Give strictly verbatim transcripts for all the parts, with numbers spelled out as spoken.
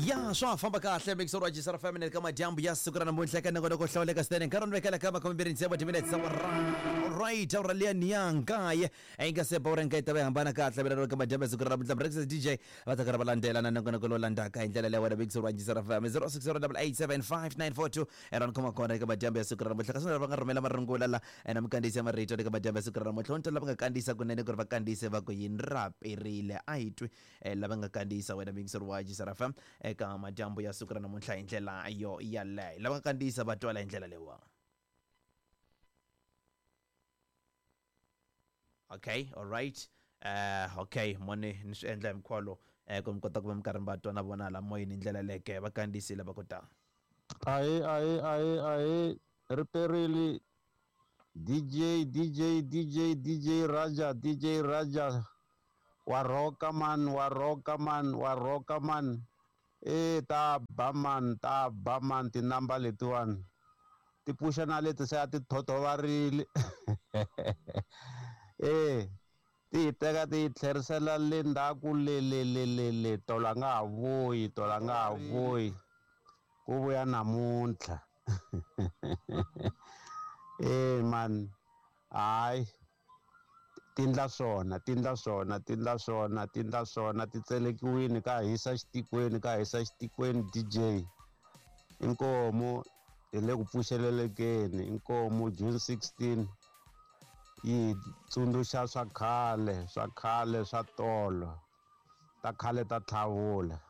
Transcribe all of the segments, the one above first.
Ya swa famba kahle mixer wa Jisara Family ka madyambu ya siku ra namuntlha ka nongonoko hlawuleka swinene nkarhi ni vekela ka makume tsevu timinetse right awara liya ni ya nkaye yi nga se bawura nkaye ta va hambana kahle mina ka madyambu ya siku ra namuntlha Breakfast D J va ta karhi va landzela na nongonoko lowu landzaka hi ndlela leyi wena mixer wa Jisara Family zero six zero eight seven five nine four two era ni khoma kona eka madyambu ya siku ra namuntlha kasi lava nga rhumela marungula la na mikandziyiso ya marito eka madyambu ya siku ra namuntlha onto lava nga kandziyisa kunene ku ri va kandziyise va ku yini ra perile a hi twi lava nga kandziyisa wena mixer wa Jisara F M eka madyambu ya siku ra namuntlha hi ndlela yo yaleyo lava nga kandziyisa va twala hi ndlela leyiwa. Okay, all right. Uh, okay, moni ni swi endla hi mkhwalo eh ku mi kota ku va mi karhi mi va twa na vona la moyeni hi ndlela leke va kandziyisile va ku ta. Ahe ahe ahe ahe riperile D J D J D J D J Raja D J Raja wa roka man wa roka man wa roka man e ta ba man ta ba man tinamba letiwani ti pfuxa na leti se a ti thothovarile e ti hi teka ti hi tlherisela le ndzhaku le le le le le tolo a nga ha vuyi tolo a nga ha vuyi ku vuya namuntlha e man hayi tindla swona tindla swona tindla swona tindla swona ti tselekiwini ka hisa xitikweni ka hisa xitikweni D J inkomo hi le ku pfuxelelekeni inkomo June sixteen yi tsundzuxa swa khale swa khale swa tolo ta khale ta tlhavula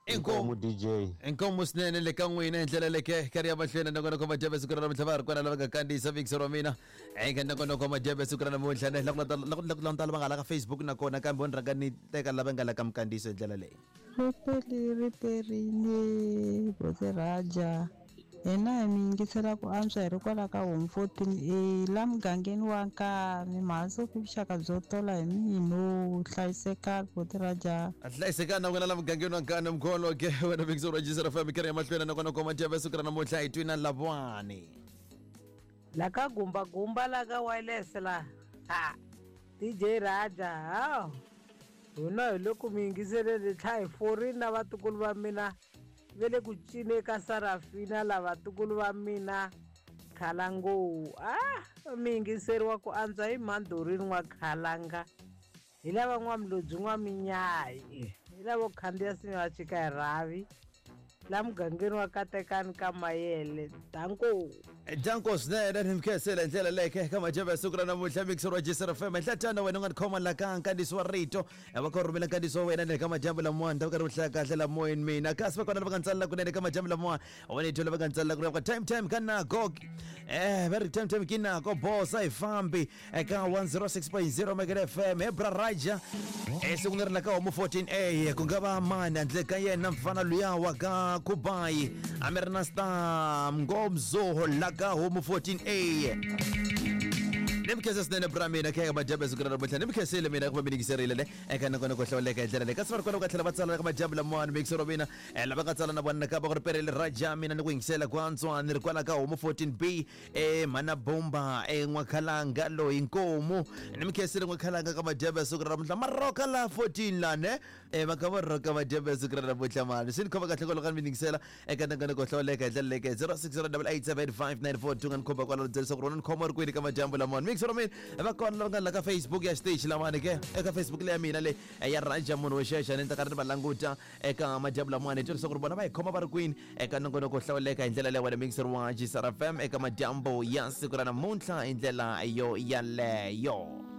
inkomo D J inkomo swinene le ka n'wina hi ndlela leke karhi ya mahlweni nongonoko madyambu siku ra namuntlha va ri kona lava nga kandziyisa mixer wa mina eka nongonoko madyambu siku ra namuntlha ne la ku la ku lava nga la ka Facebook nakona kambe ni rhanga ni teka lava nga la ka mikandziyiso hi ndlela leyi. Ripeli riperile Bote Raja hina hi mi yingisela ku antswa hi ri kwala ka home fourteen A la mugangeni wa Nkani mhansi ku vuxaka byo tola hi mino hlayisekani Bote Raja. Hlayisekani na wena la mugangeni wa Nkani mkholo ke wena mixer wa Jisara F M karhi ya mahlweni nongonoko madyambu siku ra namuntlha hi twi na Lavwani la ka gumba gumba la ka wireless la ha D J Raja ha hina hi loko mi yingiselele tlha hi forini na vatukulu va mina ve le ku cine ka Sarafina lava vatukulu va mina Khalango ah mi yingiseriwa ku antswa hi Mandorini n'wa Khalanga hi lava n'wamlodzi n'wa Minyayi hi lavo khandziya sinya va chika hi rhavi la mugangeni wa Katekani ka Mayele danko danko swinene ni mikhensela hi ndlela leke ka madyambu ya siku ra namuntlha mixer wa Jisara F M nhlatana wena u nga ni khoma la ka nkandziyiso wa rito va kha rhumela nkandziyiso wa wena ni le ka madyambu lamawani ta va karhi u hlaya kahle la moyeni mina kasi va kona lava nga ntsalela kunene ka madyambu lamawani wena hi lava nga ntsalela kunene ka time time ka nako eh va ri time time ki nako bosa hi fambi eka one oh six point zero Mega F M he bra Raja eh siku leri la ka homu fourteen A ku nga va mani handle ka yena mfana luya wa ka Kubai amerna star ngomzo la ka homu fourteen A nimkhese swinene bra mina khe ka madyambu ya siku ra namuntlha nimkhesile mina ku va mi yingiserile le eka nongonoko hlawuleka hi ndlela leyi kasi va ri kona ku tlhela va tsala ka madyambu lamawani mixer wa mina lava nga tsala na vona ka va ku ri perile Raja mina ni ku yingisela ku antswa ni ri kwala ka homu fourteen B e mhana bomba e n'wakhalanga loyi nkomu ni mikhesile n'wakhalanga ka madyambu ya siku ra namuntlha maroka la fourteen lane e va kha va roka madyambu ya siku ra namuntlha mani swi ni khoma kahle kwaloku ka ni mi yingisela eka nongonoko hlawuleka hi ndlela leke zero six zero eight seven five nine four two nga ni khomba kwalano byela leswaku rona ni khoma ri kwini ka madyambu lamawani mixer wa mina va kona lava nga la ka Facebook ya xiteji lamawani ke eka Facebook leya mina le ya Raja munhu wo xexa ni ta karhi ni va languta eka madyambu lamawani hi twa leswaku ri vona va hi khoma va ri kwini eka nongonoko hlawuleka hi ndlela leyi wena mixer wa Jisara F M eka madyambu ya siku ra namuntlha hi ndlela yo yaleyo.